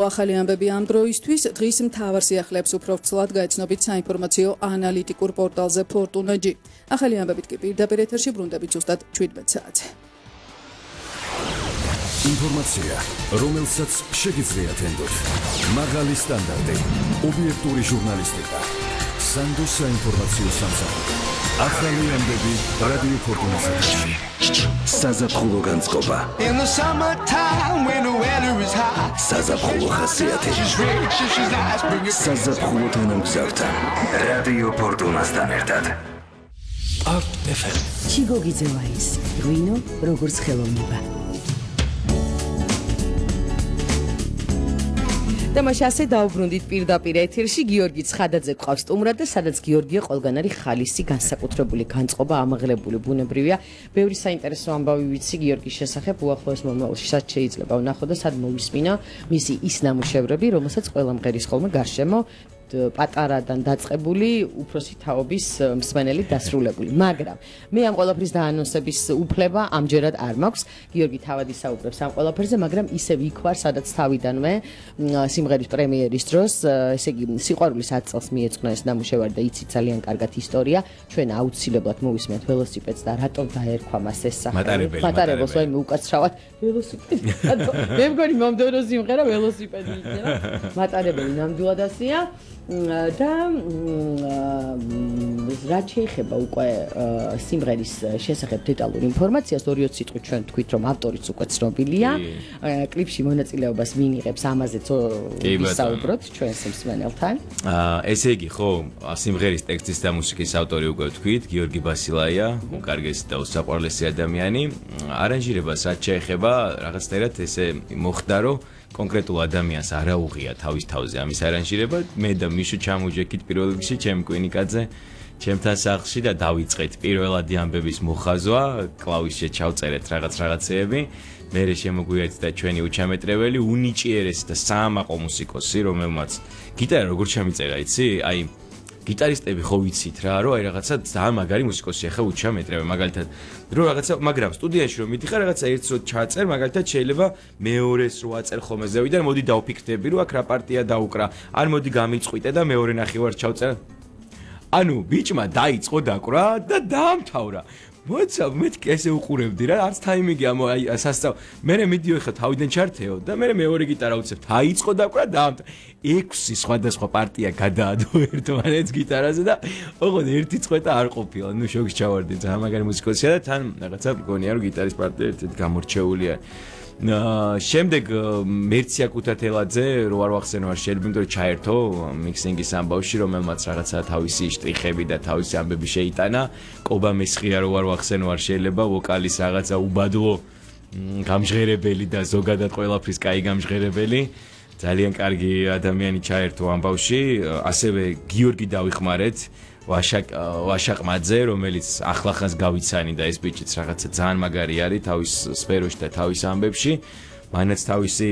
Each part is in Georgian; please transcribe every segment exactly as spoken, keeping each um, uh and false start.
ახალი ამბები ამ დროისთვის დღის მთავარ სიახლეებს უფრო ვრცლად გაიცნობით საინფორმაციო ანალიტიკურ პორტალზე Fortuna.gi. ახალი ამბებით კი პირდაპირ ეთერში ბრუნდებით ზუსტად შვიდმეტ საათზე. ინფორმაცია, რომელსაც შეგიძლიათ ენდოთ. მაღალი სტანდარტი, ობიექტური ჟურნალისტიკა. სანდოს საინფორმაციო სამსახური. ახალი ამბები რადიო Fortuna-ზე. საზაფხულო განწყობა. საზაფხულო ხასიათი. საზაფხულო თანამგზავრთან. რადიო Fortuna-სთან ერთად. Art ეფ ემ. ჩიგოგიძევა ის, ღვინო როგორც ხელოვნება. თამაში ასე დაუბრუნდით პირდაპირ ეთერში გიორგი ცხადაძე გყავს სტუმრად და სადაც გიორგია ყველგან არის ხალისი განსაკუთრებული განწყობა ამაღლებული ბუნებრივია. ბევრი საინტერესო ამბავი ვიცი გიორგის შესახებ უახლოეს მომავალში სად შეიძლება ვნახო და სად მოვისმინო მისი ის ნამუშევრები, რომელსაც ყველა მღერის ხოლმე გარშემო პატარადან დაწყებული უფროსი თაობის მსმენელი დასრულებული. მაგრამ მე ამ ყველაფრის დაანონსების უფლება ამჯერად არ მაქვს. გიორგი თავად ისაუბრებს ამ ყველაფერზე, მაგრამ ისევ იქ ვარ, სადაც თავიდანვე სიმღერის პრემიერის დროს, ესე იგი, სიყვარულის ათ წელს მიეძღვნა ეს ნამუშევარი და იცით ძალიან კარგად ისტორია. ჩვენ აუცილებლად მოვისმენთ ველოსიპედს და რატომ დაერქვა მას ეს სახელი. მატარებელს ვაიმე უკაცრავად ველოსიპედი. მე მგონი მომდევნო სიმღერა ველოსიპედი იქნება. მატარებელი ნამდვილად ასეა. და რაც შეეხება უკვე სიმღერის შესახებ დეტალურ ინფორმაციას, ორი-ოც სიტყვით ჩვენ თქვით, რომ ავტორიც უკვე ცნობილია. კლიპში მონაწილეობას ვინ იღებს, ამაზეც ვისაუბროთ ჩვენს მსმენელთან. ესე იგი, ხო, სიმღერის ტექსტის და მუსიკის ავტორი უკვე თქვით, გიორგი ბასილაია, უკარგესი და უსაყვარლესი ადამიანი. არანჟირებას რაც შეეხება, რაღაცნაირად ესე მოხდა, რომ კონკრეტულ ადამიანს არ აუღია თავის თავზე ამის არანჟირება. მე და მიშო ჩამოვიჯექით პირველ რიგში ჩემ კვინიკაძე, ჩემთან სახლში და დავიწყეთ პირველადი ამბების მოხაზვა, კლავიშზე ჩავწერეთ რაღაც რაღაცეები. მერე შემოგვიერთდა ჩვენი უჩამეტრებელი, უნიჭიერესი და საამაყო მუსიკოსი, რომელმაც გიტარა როგორ ჩამიწერა, იცი? აი გიტარისტები ხო ვიცით რა, რომ აი რაღაცა ძალიან მაგარი მუსიკოსი ახლა უჩამეტრებე, მაგალითად, რომ რაღაცა, მაგრამ სტუდიაში რომ მიდიხარ, რაღაცა ერთს რო ჩაწერ, მაგალითად შეიძლება მეორეს რო აწერ ხოლმე ზევიდან, მოდი დავფიქრდები, რომ აქ რა პარტია დაუკრა, ან მოდი გამიწყვიტე და მეორე ნახევარს ჩავწერ. ანუ ბიჭმა დაიწყო დაკვრა და დაამთავრა. მოიცა, მეთქი ესე უყურებდი რა, არც თაიმინგი ამ აი სასწავლო. მერე მიდიო ხა თავიდან ჩართეო და მერე მეორე გიტარა უცებ, დაიწყო დაკვრა დაამთავრა. ექვსი სხვადასხვა პარტია გადაადო ერთმანეთს გიტარაზე და ოღონდ ერთი წყვეტა არ ყოფილა. ნუ შოკს ჩავარდი, ძალიან მაგარი მუსიკოსია და თან რაღაცა მგონია რომ გიტარის პარტია ერთ-ერთი გამორჩეულია. შემდეგ მერცია კუთათელაძე რო არ ვახსენო არ შეიძლება, იმიტომ რომ ჩაერთო მიქსინგის ამბავში, რომელმაც რაღაცა თავისი შტრიხები და თავისი ამბები შეიტანა. კობა მესხია რო არ ვახსენო არ შეიძლება, ვოკალის რაღაცა უბადლო გამჟღერებელი და ზოგადად ყველაფრის კაი გამჟღერებელი. ძალიან კარგი ადამიანი ჩაერთო ამბავში. ასევე გიორგი დავიხმარეთ, ვაშაკ ვაშაყმაძე, რომელიც ახლახანს გავიცანი და ეს ბიჭიც რაღაცა ძალიან მაგარი არის თავის სფეროში და თავის ამბებში. მანაც თავისი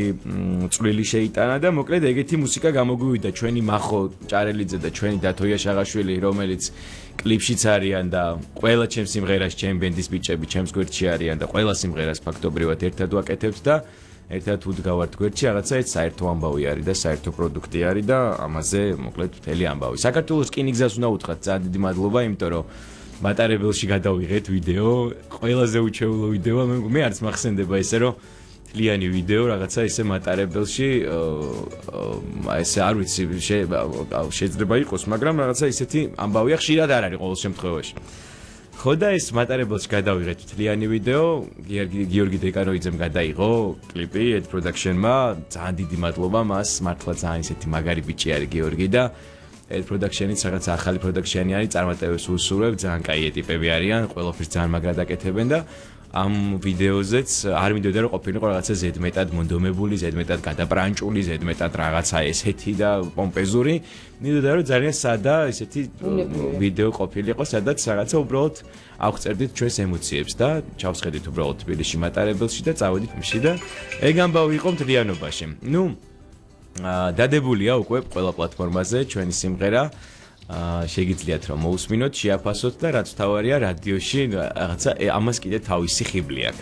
წვლილი შეიტანა და მოკლედ ეგეთი მუსიკა გამოგვივიდა ჩვენი მახო ჭარელიძე და ჩვენი დათოია შაღაშვილი, რომელიც კლიპშიც არიან და ყველა ჩემს სიმღერას ჩემ ბენდის ბიჭები ჩემს გვერდში არიან და ყველა სიმღერას ფაქტობრივად ერთად ვაკეთებთ და ერთად უდგავართ გვერდში, რაღაცა ეს საერთო ამბავი არის და საერთო პროდუქტი არის და ამაზე მოკლედ მთელი ამბავი. საქართველოს რკინიგზას უნდა უთხრათ ძალიან დიდი მადლობა, იმიტომ რომ მატარებელში გადავიღეთ ვიდეო, ყველაზე უჩვეულო ვიდეო, მე არც მახსენდება ესე რომ თლიანი ვიდეო რაღაცა ესე მატარებელში, ესე არ ვიცი შეიძლება იყოს, მაგრამ რაღაცა ისეთი ამბავია, ხშირად არ არის ყოველ შემთხვევაში. ხო და ეს მატარებელში გადავიღეთ თლიანი ვიდეო, გიორგი დეკაროიძემ გადაიღო კლიპი ედ პროდაქშენმა, ძალიან დიდი მადლობა მას, მართლა ძალიან ისეთი მაგარი ბიჭი არის გიორგი და ედ პროდაქშენიც რაღაცა ახალი პროდაქშენი არის, წარმატებებს უსურვებ, ძალიან კაი ტიპები არიან, ყველაფერს ძალიან მაგრად აკეთებენ და ამ ვიდეოზეც არ მინდოდა რომ ყოფილიყო რაღაცა ზედმეტად მონდომებული, ზედმეტად გადაპრანჭული, ზედმეტად რაღაცა ესეთი და პომპეზური. მინდოდა რომ ძალიან სადა ესეთი ვიდეო ყოფილიყო, სადაც რაღაცა უბრალოდ აღწერდით ჩვენს ემოციებს და ჩავსხედით უბრალოდ თბილისში მატარებელში და წავედით მში და ეგ ამბავი იყო მთლიანობაში. ნუ დადებულია უკვე ყველა პლატფორმაზე ჩვენი სიმღერა. შეგიძლიათ რომ მოусმინოთ, შეაფასოთ და რაც თავარია რადიოში რაღაცა ამას კიდე თავისი ხიბლი აქვს.